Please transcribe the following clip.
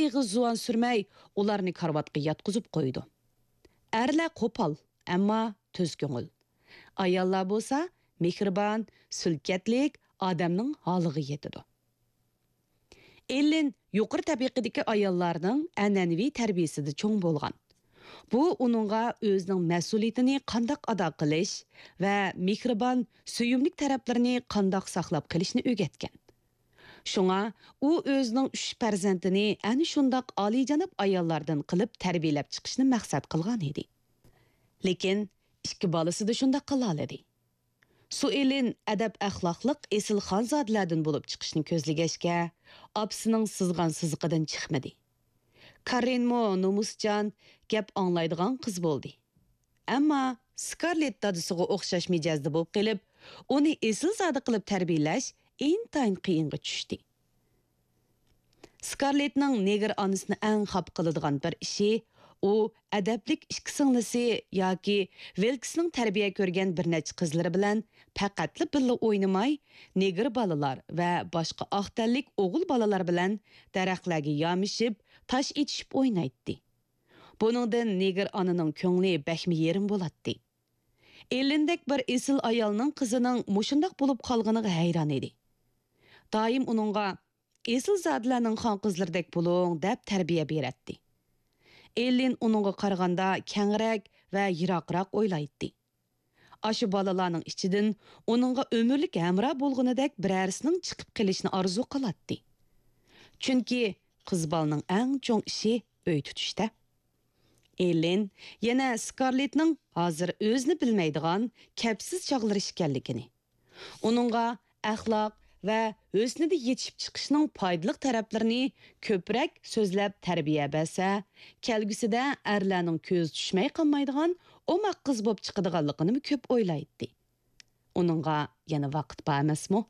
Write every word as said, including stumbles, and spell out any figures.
ئېغىز زۇۋان سۈرمەي، ئۇلارنى كارىۋاتقا ياتقۇزۇپ قويىدۇ. ئەرلەر قوپال، ئەمما تۈز كۆڭۈل. ئاياللار بولسا مېھرىبان، سۈلكەتلىك، ئادەمنىڭ ھالىغا يېتىدۇ. ئېللىن يۇقىرى تەبىقىدىكى ئاياللارنىڭ ئەنئەنىۋى تەربىيىسىدە چوڭ بولغان. بۇ ئۇنىڭغا ئۆزىنىڭ مەسئۇلىيىتىنى قانداق ئادا قىلىش ۋە مېھرىبان، سۆيۈملۈك تەرەپلىرىنى قانداق ساقلاپ قېلىشنى ئۆگەتكەن. شۇڭا ئۇ ئۆزىنىڭ ئۈچ پەرزەنتىنى ئەنە شۇنداق ئالىيجاناب ئاياللاردىن قىلىپ تەربىيەلەپ چىقىشنى مەقسەت قىلغان ئىدى. لېكىن ئىككى بالىسىدا شۇنداق قىلالىدى. سۇئېلىن ئەدەپ-ئەخلاقلىق ئېسىل خانزادىلەردىن بولۇپ چىقىشنى كۆزلىگەچكە، ئاپىسىنىڭ سىزغان سىزىقىدىن چىقمىدى. كارىنمۇ نومۇسچان، گەپ ئاڭلايدىغان قىز بولدى. ئەمما سكارلېت دادىسىغا ئوخشاش مىجەزدە بولۇپ قېلىپ، ئۇنى ئېسىلزادە قىلىپ تەربىيەلەش ئىنتايىن قىيىنغا چۈشتى. سكارلېتنىڭ نېگىر ئانىسىنى ئەڭ خاپا قىلىدىغان بىر ئىشى، ئۇ ئەدەپلىك ئىككى سىڭلىسى ياكى ۋىلكسنىڭ تەربىيە كۆرگەن بىر نەچچە قىزلىرى بىلەن پەقەتلا بىللە ئوينىماي، نېگىر بالىلار ۋە باشقا ئاق تەنلىك ئوغۇل بالىلار بىلەن دەرەخلەرگە يامىشىپ، تاش ئېتىشىپ ئوينايتتى. بۇنىڭدىن نېگىر ئانىنىڭ كۆڭلى بەكمۇ يېرىم بولاتتى. ئېللىندەك بىر ئېسىل ئايالنىڭ قىزىنىڭ مۇشۇنداق بولۇپ قالغىنىغا ھەيران ئىدى. دائىم ئۇنىڭغا، «ئېسىلزادىلەرنىڭ خان قىزلىرىدەك بولۇڭ» دەپ تەربىيە بېرەتتى. ئېللىن ئۇنىڭغا قارىغاندا كەڭرەك ۋە يىراقراق ئويلايتتى. ئاشۇ بالىلارنىڭ ئىچىدىن ئۇنىڭغا ئۆمۈرلۈك ھەمراھ بولغىنىدەك بىرەرسىنىڭ چىقىپ قېلىشىنى ئارزۇ قىلاتتى. چۈنكى قىز بالىنىڭ ئەڭ چوڭ ئىشى ئۆي تۇتۇشتا. ئېللىن يەنە سكارلېتنىڭ ھازىر ئۆزىنى بىلمەيدىغان، كەپسىز چاغلىرى ئىكەنلىكىنى، ئۇنىڭغا ئەخلاق ۋە ھۆسنىدە يېتىشىپ چىقىشنىڭ پايدىلىق تەرەپلىرىنى كۆپرەك سۆزلەپ تەربىيە بەرسە، كەلگۈسىدە ئەرلەرنىڭ كۆزى چۈشمەي قالمايدىغان ئوماق قىز بولۇپ چىقىدىغانلىقىنىمۇ كۆپ ئويلايتتى. ئۇنىڭغا يەنە ۋاقىت بار ئەمەسمۇ؟